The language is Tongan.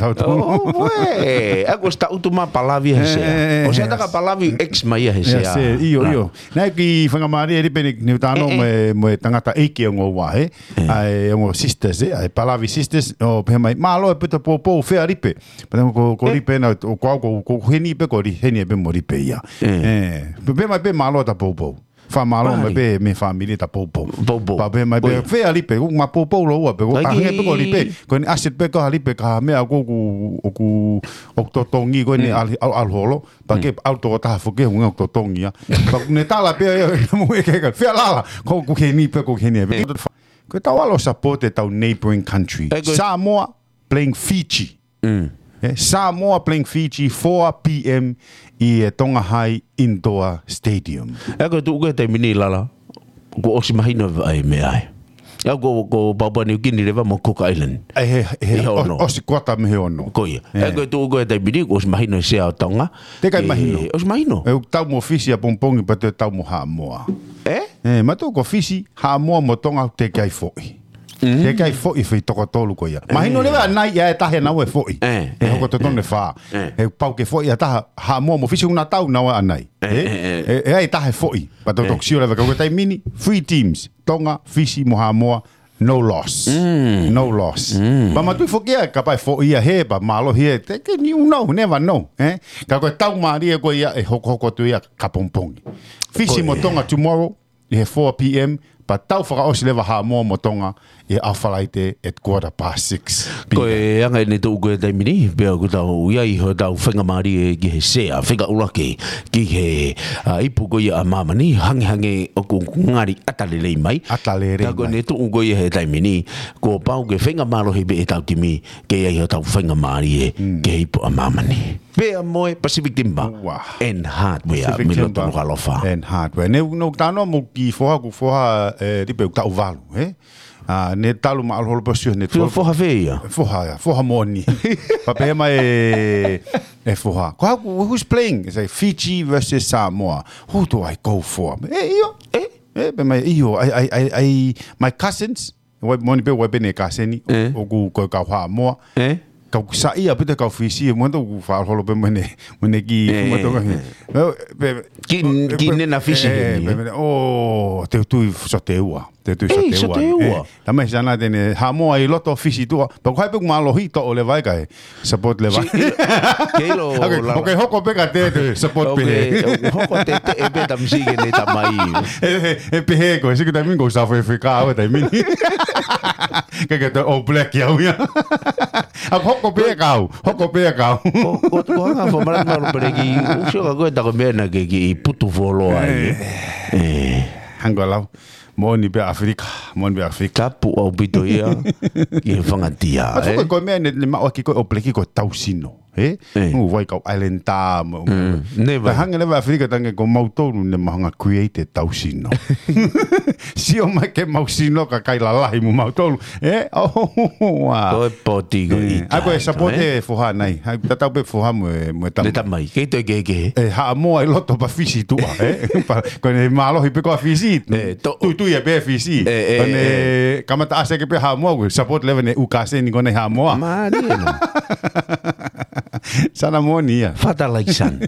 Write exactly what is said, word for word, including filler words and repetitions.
Tau tau. Oh, ē. ʻA ko ʻosi taʻutu mai Palavi he sea. ʻOsi ʻatā ka Palavi X mai ia he sea. ʻIo, ʻio. Naʻe kiʻi faingamālie ʻa Lipe ni, ni u talanoa mo e, mo e tangataʻeiki ʻo e ongo ua, ē. ʻA e ongo sisters, ē. ʻA e Palavi sisters, ʻo pehē mai, mālō e pita poupou fea Lipe. Pea ko, ko Lipe na, ko au, ko, ko heni pē ko Li-, heni pē mo Lipe ia. Ē. Pea pehē mai pē mālō ʻeta poupou. Fakamālō mai pē mei he fāmili ʻeta poupou. Poupou. Pea pehē mai pē, fea Lipe, ʻoku ma poupou lōua pē, ko ka hangē pē ko Lipe, ko eni asset pē ko ha Lipe, ka ha meʻa ʻoku, ʻoku, ʻoku totongi, ko eni ʻalu, ʻalu, ʻalu holo, pea ke ʻalu toko taha foki, ʻoku totongi ia. Pea ʻoku ne tala pē, ʻe, ʻe, mo e ke ka, fea Lala, ko ʻoku heni pē, ko ʻoku heni pē. Ko ʻetau ʻalu ʻo support ʻetau neighboring country. Samoa playing Fiji. Ē, Samoa playing Fiji, four P M ʻi he Tonga High Indoor Stadium. ʻA ko e tuʻu ko e taimi ni Lala, kuo ʻosi mahino ʻa e meʻa ē. ʻA ko, ko Papua New Guinea leva mo Cook Island. ʻAi he, he, ʻi he ʻo-, ono. ʻOsi kuata mei he ono. Ko ia. ʻA ko e tuʻu ko e taimi ni, kuo ʻosi mahino e sea ʻo Tonga. Teʻeki ai mahino. ʻOsi mahino. ʻE, ʻoku tau mo Fisi ʻapongipongi pea te tau mo Haʻamoa. Ē? Ē, mātuʻa ko Fisi, Haʻamoa mo Tonga teʻeki ai foʻi. Teʻeki ai foʻi fei toko tolu ko ia. Mahino leva ʻanai ia ʻe taha naʻa nau foʻi. ʻE hoko totonu e fā. ʻE pau ke foʻi ʻa taha Haʻamoa mo Fisi ʻoku na tau naua ʻanai. ʻE, ʻe, ʻe, ʻe ai taha foʻi. Pea tau toki sio leva ka ko e taimi ni, three teams. Tonga, Fisi mo Haʻamoa, no loss. No loss. Pea mātuʻa foki ia, kapau ʻe foʻi ia he, pea mālohi ē, teʻeki, you know, never know, ē? Ka ko e tau mālie ko ia ʻe hokohoko atu ia ka pongipongi. Fisi mo Tonga tomorrow, ʻi he four P M, pea tau fakaʻosi leva Haʻamoa mo Tonga ʻi he ʻaho Falaite at quarter past six P M. Ko e anga ʻene tuʻu ko e taimi ni, pea ʻoku tau ʻi ai hotau faingamālie ki he sea, fika ʻuluaki ki he, ʻa, ipu ko ia ʻa māmani, hangehangē ʻoku ngali ʻata lelei mai. ʻAta lelei mai. Ka ko ʻene tuʻu ko ia he taimi ni, kuo pau ke faingamālohi pē ʻetau timi, ke ʻi ai hotau faingamālie ki he ipu ʻa māmani. Pea mo e Pacific Timber and Hardware, Pacific Timber and Hardware. Ne, ne u talanoa mo e kiʻi foha, ko e foha, ē, Lipe ʻoku taʻu valu, ē? ʻA, ne talu ma ʻalu holo pea sio, ne talu. Foha fē ia? Foha ia, foha moʻoni. Pea pehē mai e, e foha. Ko haku, who's playing? It's like Fiji versus Samoa. Who do I go for? ʻE, ʻio. ʻE? ʻE, pehē mai, ʻio, I, I, I, I, my cousins, ʻoku ʻi ai, moʻoni pē, ʻoku ʻi ai pē ʻene kaseni, ʻoku ko e kau Haʻamoa. Kau saiʻia pē ʻa e kau Fisi, mo ʻoku faʻa holo pē mo ʻene, mo ʻene kiʻi fuma tonga. Kiʻi, kiʻi nena Fisi heni. Pea, pea, ʻo, te u tui ʻoku sote ua, te u tui ʻoku sote ua. Tama ʻi sana te ne Haʻamoa ʻi loto Fisi tuʻa, pea ko hai pē ʻoku mālohi toʻo leva ʻe kai. Support leva. Ke ʻilo, ʻoku hoko pē ka te, te support pē. ʻOku hoko te, te, ʻe pē tamasiʻi ke ne tamai. ʻE, ʻe, ʻe pehē ko, siʻi taimi ko South Africa, ʻo taimi ni. Ke ke te All Black ia au ia. ʻOku hoko pē kau, hoko pē kau. Ko, ko, ko hanga fo mara mara pere ki, ʻoku sio ka ko e tako meʻa na ke kiʻi putu folo ai. ʻE. Hanga lau. Moʻoni pē ʻAfilika, moʻoni pē ʻAfilika. Tapu ʻaupito ia, ki he fangatia, ʻe? Ko e meʻa ne, ne maʻu ʻaki ko e All Black ko e tau sino, ē? ʻE. Ngu vai kau Islander, mo, mo. Never. Ka hanga leva ʻAfilika tange ko mautolu ne mahanga create tau sino. Sio mai ke mau sino ka kai lalahi mo mautolu, ē? ʻOua. Ko e poti ko ʻItā. ʻA ko e support e foha nai. Tatau pē foha mo e, mo e tamai. Kei toe kehekehe. ʻE Haʻamoa ʻi loto pea Fisi tuʻa, ē? Pea ko ʻene mālohi pē ko ʻa Fisi. Tuitui ia pē Fisi. Ko ʻene kamata ʻasi ʻaki pē Haʻamoa, ko e support leva ʻene ʻū kaseni ko ʻene Haʻamoa. Mālie ʻena. Sana moʻoni ia. Father like son.